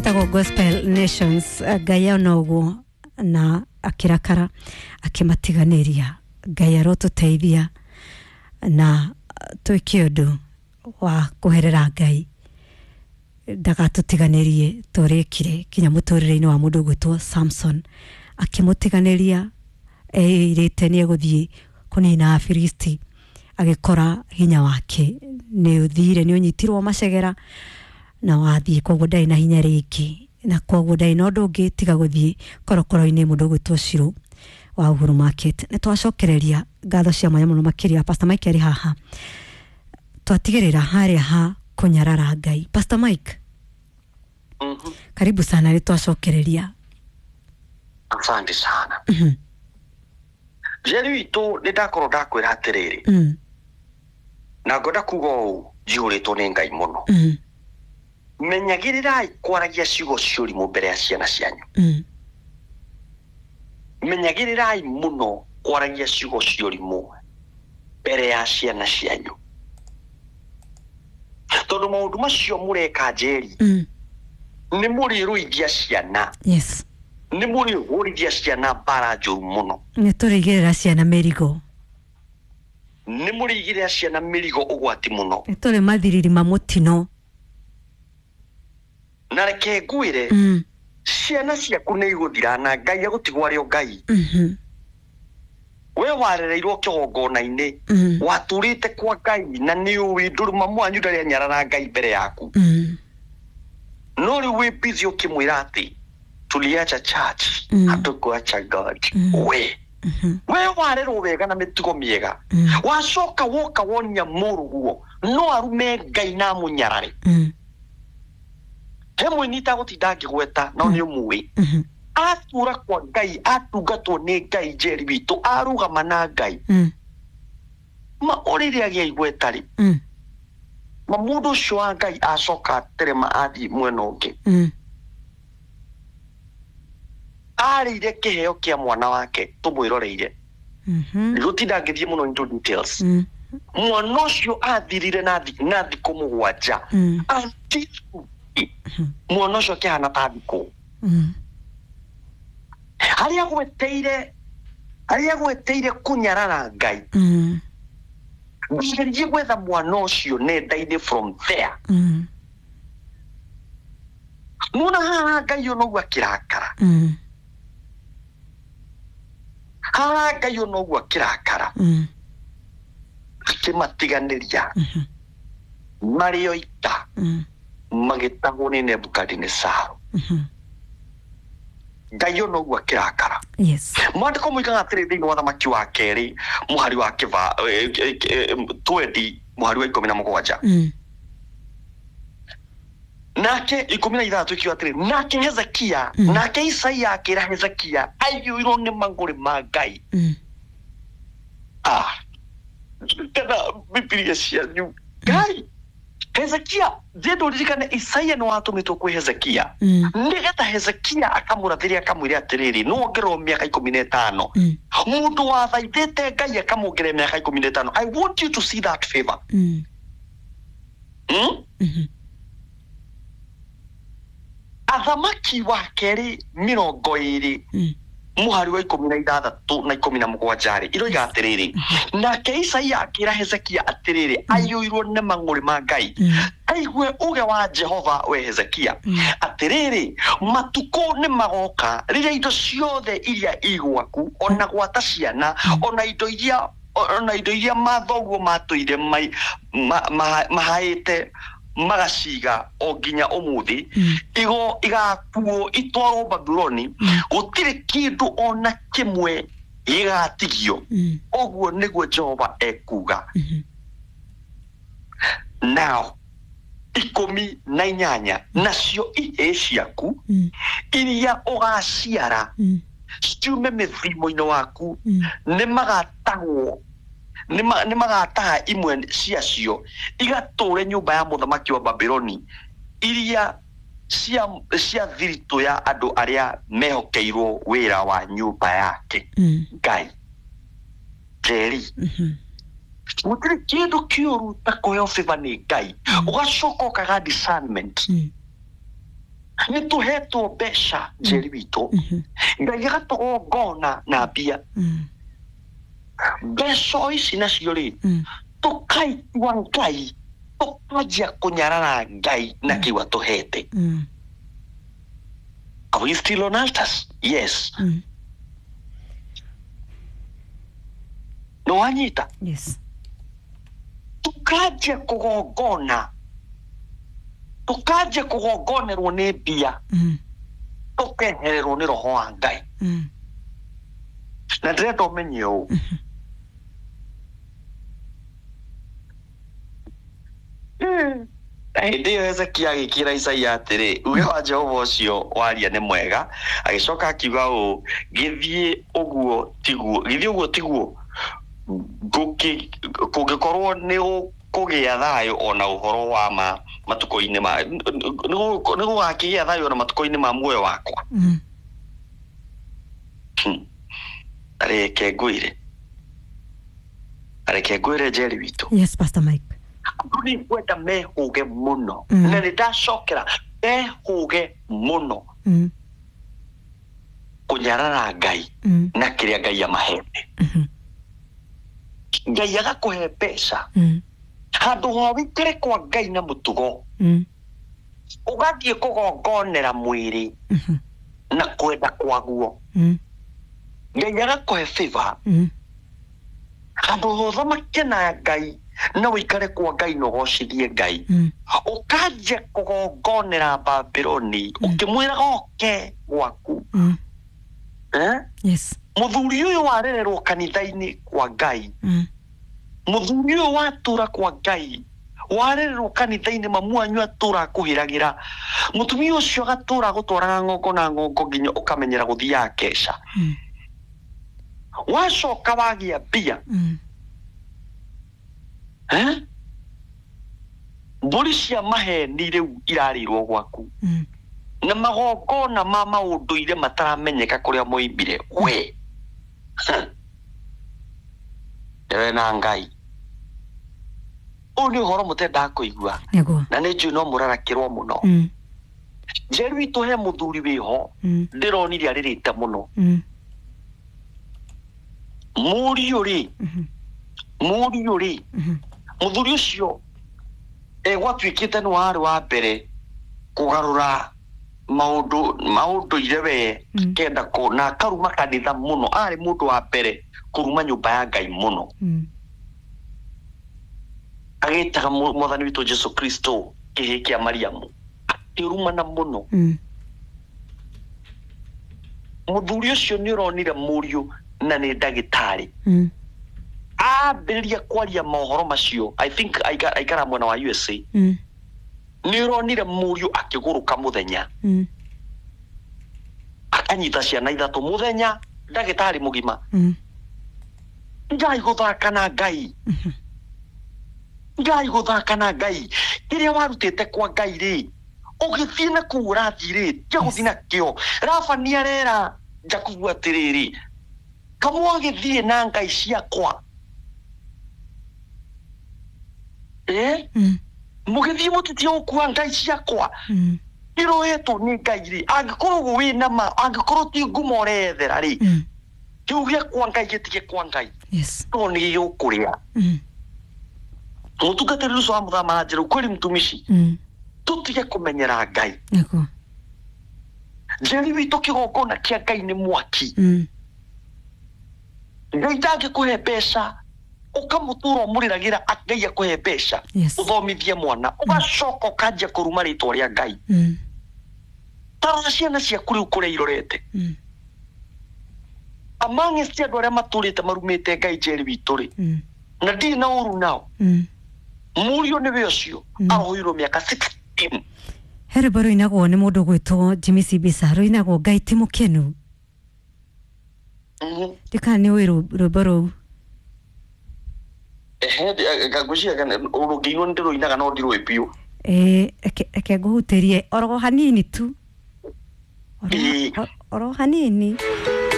Etagwo Gospel Nations. Ngai ona ũguo na akĩrakara akĩmatiganĩria. Ngai arotũteithia na twĩke ũndũ wa kũherera Ngai ndagatũtiganĩrie tũrĩkire kinya mũtũrĩre-inĩ wa mũndũ ũgwĩtwo Samson, akĩmũtiganĩria eĩrĩte nĩ egũthiĩ kũnina Afilisti, agĩkora hinya wake nĩ ũthire, nĩ ũnyitirwo macegera na wathiĩ, koguo ndarĩ na hinya rĩngĩ, na koguo ndarĩ na ũndũ ũngĩ tiga gũthiĩ korokoro-inĩ mũndũ ũgwĩtwo Shiro wa Uhuru Market. Nĩ twacokereria ngatho cia mwanya mũno makĩria Pastor Mike arĩ haha, twatigĩrĩra harĩa ha kũnyarara Ngai. Pastor Mike, karibu sana, nĩ twacokereria. Asante sana. Njeri witũ, nĩ ndakorwo ndakwĩra atĩrĩrĩ, na ngwenda kuga ũũ njihũrĩtwo nĩ Ngai mũno. Menyagĩrĩrai kwaragia ciugo cia ũrimũ mbere ya ciana cianyu. Menyagĩrĩrai mũno kwaragia ciugo cia ũrimũ mbere ya ciana cianyu, tondũ maũndũ macio mũreka, Njeri, nĩ mũrĩrũithia ciana, nĩ mũrĩhũrithia ciana mbara njũru mũno. Nĩ tũrĩigĩrĩra ciana mĩrigo. Nĩ mũrĩigĩrĩra ciana mĩrigo ũgwati mũno. Nĩ tũrĩ mathiriri ma mũtino. Na reke ngwĩre, ciana ciaku nĩ igũthira na Ngai agũtigwo arĩ o Ngai. We warereirwo kĩgongona-inĩ, watũrĩte kwa Ngai, na nĩ ũĩ ndũrĩ mamu wanyu ndarĩ anyarara Ngai mbere yaku, no rĩu wĩ busy ũkĩmwĩra atĩ tuliacha church, hatukuacha God. We we warerwo wega na mĩtugo mĩega, wacoka woka wonia mũrũguo no arume Ngai na amũnyarare. He mũini itagũtinda ngĩgweta, no nĩ ũmũĩ, atura kwa Ngai, atungatwo nĩ Ngai, Njeri witũ, arũgama na Ngai, ma o rĩrĩa agĩa igweta rĩ, ma mũndũ ũcio wa Ngai acoka aterema athiĩ mwena ũngĩ, arĩire kĩheo kĩa mwana wake tũmwĩroreire. Ndigũtinda ngĩthiĩ mũno into details. Mwana ũcio athirire na thikũ 7. Until mwana ũcio akĩhana ta thikũ harĩa agweteire kũnyarara Ngai. Ngerie gwetha mwana ũcio nenda-inĩ from there. Nona haha Ngai ona ũguo akĩrakara, haha Ngai ona ũguo akĩrakara, akĩmatiganĩria marĩ o ita, magĩtahwo nĩ Nebukadinesaru. Ngai ona ũguo akĩrakara. Mwandĩko moigaga atĩrĩ thĩinĩ wa Thamaki wa kerĩ mũhari wa kĩba 20 mũhari wa 17, nake 16 ikiuga atĩrĩ, nake Hezekia, nake Isaia akĩra Hezekia aiyũirwo nĩ mang'ũrĩ ma Ngai. Ah, kana Bibilia cianyu Ngai Hezekia njendo ririkane Isaia nĩ watũmĩtwo kwĩ Hezekia, nĩgetha Hezekia akamũrathĩre, akamwĩre atĩrĩrĩ, nĩ wongererwo mĩaka 15. Mũndũ wathaithĩte Ngai akamwongerera mĩaka 15. I want you to see that favor. Athamaki wa kerĩ 20 mũhari wa 16 na 17 rĩ, iroiga atĩrĩrĩ, nake Isaia akĩra Hezekia atĩrĩrĩ, aiyũirwo nĩ mang'ũrĩ ma Ngai, aigue uge wa Jehova, we Hezekia, atĩrĩrĩ, matukũ nĩ magoka rĩrĩa indo ciothe iria i gwaku, ona gwata ciana, ona indo iria mathoguo matũire mahaĩte magaciga o nginya ũmũthĩ, igo igakuo itwarwo Babuloni, gũtirĩ kĩndũ ona kĩmwe gĩgatigio. Ũguo nĩguo Jehova ekuga. Now 18, nacio ihĩĩ ciaku iria ũgaciara ciume mĩthimo-inĩ waku, nĩ magatahwo, nĩ magataha imwe ciacio igatũre nyũmba ya mũthamaki wa Babuloni, iria cia thiritũ ya andũ arĩa mehokeirwo wĩra wa nyũmba yake. Ngai, Njeri, gũtirĩ kĩndũ kĩũru ta kũheo favor nĩ Ngai, ũgacoka ũkaga discernment. Nĩ tũhetwo mbeca njeri witũ, Ngai agatũgongona na mbia. Mbeca o ici nacio rĩ, tũkaitua Ngai, tũkanjia kũnyarara Ngai na kĩu atũhete. Are we still on altars? Yes. Nĩ wanyita? Yes. Tukanjia kũgongona, tukanjia kũgongonerwo nĩ mbia, tũkehererwo nĩ roho wa Ngai. Na ndĩrenda ũmenye ũũ, na hĩndĩ ĩyo Hezekia agĩkĩra Isaia atĩrĩ, uge wa Jehova ũcio waria nĩ mwega. Agĩcoka akiuga ũũ, gĩthiĩ ũguo tiguo, gĩthiĩ ũguo tiguo, kũngĩkorwo nĩ ũkũgĩa thayũ ona ũhoro wa ma matukũ-inĩ ma nĩ gũgakĩgĩa thayũ ona matukũ-inĩ ma muoyo wakwa. Reke ngwĩre, reke ngwĩre Njeri witũ. Yes, Pastor Mike. Andũ nĩ ngwenda mehũge mũno. Na nĩ ndacokera, mehũge mũno kũnyarara Ngai na kĩrĩa Ngai amahete. Ngai agakũhe mbeca, handũ ha wĩikare kwa Ngai na mũtugo, ũgathiĩ kũgongonera mwĩrĩ na kwenda kwaguo. Ngai agakũhe favor, handũ ha ũthamake na Ngai na wĩikare kwa Ngai na ũgocithie Ngai, ũkanjia kũgongonera Babironi ũkĩmwĩraga oke gwaku. Eh? Yes. Mũthuri ũyũ warererwo kanitha-inĩ kwa Ngai, mũthuri ũyũ watũra kwa Ngai, warererwo kanitha-inĩ, mamu wanyu atũra akũhĩragĩra, mũtumia ũcio agatũra agũtwaraga ng'ongo na ng'ongo nginya ũkamenyera gũthiaga keca. Wacoka wagĩa mbia, eh? Mbũri cia maheni rĩu irarĩirwo gwaku, na magongona ma maũndũire mataramenyeka kũrĩa moimire. We ndewe na Ngai, ũyũ nĩ ũhoro mũtendaga kũigua. Nĩguo. Na nĩ njũĩ no mũrarakĩrwo mũno. Njeru witũ, he mũthuri wĩho ndĩronire arĩrĩte mũno. Mũriũ rĩ, mũriũ rĩ, mũthuri ũcio gwatuĩkĩte nĩ warĩ wa mbere kũgarũra maũndũ maũndũire we, kenda kũ na akaruma kanitha mũno, arĩ mũndũ wa mbere kũruma nyũmba ya Ngai mũno, agĩtaga mwathani witũ Jesu Kristo kĩhĩ kĩa Mariamu, akĩrumana mũno. Mũthuri ũcio nĩ ũronire mũriũ na nĩ ndagĩtarĩ, ambĩrĩria kwaria mohoro macio. I think aikara mwena wa USA. Nĩ ũronire mũriũ akĩgũrũka mũthenya, akanyita ciana ithatũ mũthenya, ndagĩtarĩ mũgima. Ngai gũthaka na Ngai, Ngai gũthaka na Ngai, kĩrĩa warutĩte kwa Ngai rĩ, ũgĩthiĩ na kũu ũrathiĩ rĩ, tia gũthiĩ nakĩo. Labani arera Jakubu atĩrĩrĩ, kamwagĩthiĩ na ngai ciakwa, eh? Mũgĩthiĩ mũtitie gũkua ngai ciakwa iroetwo nĩ Ngai rĩ, angĩkorwo ũguo wĩna ma, angĩkorwo ti ngumo ũreyethera rĩ, kĩu gĩa kwa Ngai gĩtige kwa Ngai. Yes. No nĩ gĩgũkũrĩa. Mũtungatĩri ũcio wa mũthama njĩra, kweli mtumishi, tũtige kũmenyera Ngai. Nĩguo. Njeri witũ, kĩgongona kĩa Ngai nĩ mwaki. Ngai ndangĩkũhe mbeca ũkamũtũra ũmũrĩragĩra Ngai akũhe mbeca, ũthomithie mwana, ũgacoka ũkanjia kũruma rĩtwa rĩa Ngai. Tarora ciana ciaku rĩu kũrĩa irorete. Amongst andũ arĩa matũrĩte marumĩte Ngai, Njeri witũ rĩ, na ndirĩ na ũru nao, mũriũ nĩwe ũcio aroirwo mĩaka 16. He rwĩmbo rũinagwo nĩ mũndũ ũgwĩtwo Jimmy Sibisa, rũinagwo Ngai ti mũkenu. Ndikana nĩ ũĩ rwĩmbo rũu. Ehe, ngwĩciria rũngĩinwo nĩ ndĩrũinaga no ndirũĩ biũ. Ĩĩ, reke ngũhutĩrie oro hanini tu. Oro, Ĩĩ. oro hanini.